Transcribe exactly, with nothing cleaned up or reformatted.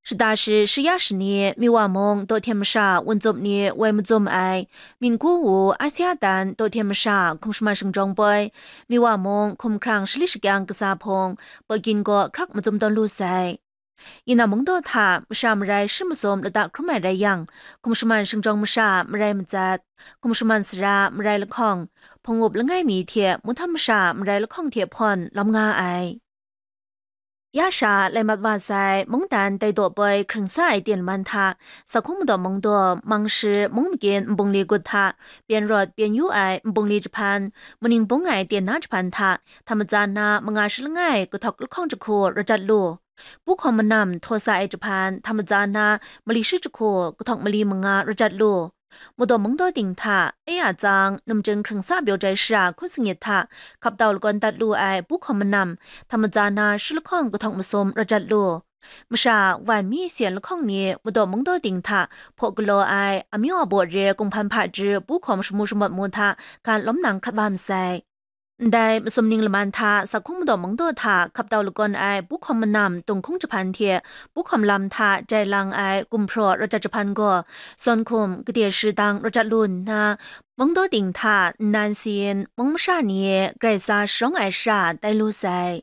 Shada shi shaya shani, Miwa mung dawhten masha wunzup ni woi mazum ai, Minggu wu Asia tan dawhten masha hkum shaman shingjawng poi, Miwa mung hkum hkrang shali shakyang kasa hpung, Pekin gaw hkrak mazum tawn lu sai. Yina mungdaw hta masha marai shi masum lata hkrum ai rai yang, hkum shaman shingjawng masha marai matsat, hkum shaman sara marai lahkawng, hpung up langai mi hte muhtam masha marai lahkawng hte hpawn lawm nga ai. Ya sha lai mat wa sai, mungdan tai daw poi hkring sa ai ten man hta, Sakhung Madaw Mungdaw, Mangshi, Mung Makin nbungli gut hta, pyen rawt pyen yu ai nbungli jahpan, muning bung ai ten na jahpan hta, hta matsa na manga shi langai kahtawk lahkawng jahku rajat lu. Pu hkawm manam htaw sa ai jahpan, hta matsa na mali shi jahku kahtawk mali manga rajat lu. Madaw mungdaw ting hta, e a tsang, numchin hkring sa pyaw jai shara hkun sangit hta, hkap tau lakawn dat lu ai pu hkawm manam, hta matsa na shi lahkawng kahtawk masum rajat lu. Masha wan mi syen lahkawng ni madaw mungdaw ting hta hpaw galaw ai, amyu a baw re kunghpan hpaji pu hkawm shamu shamawt mu hta gan lawm nang hkrat wa masai. Ndai masum ning laman hta Sakhung Madaw Mungdaw hta hkap tau lakawn ai pu hkawm manam tunghkung jahpan hte pu hkawm lam hta jai lang ai gumhpraw rajat jahpan gaw, sawn hkum gade shi dang rajat lu nna, mungdaw ting hta nnan sayin mung masha ni grai tsa sharawng ai shara tai lu sai.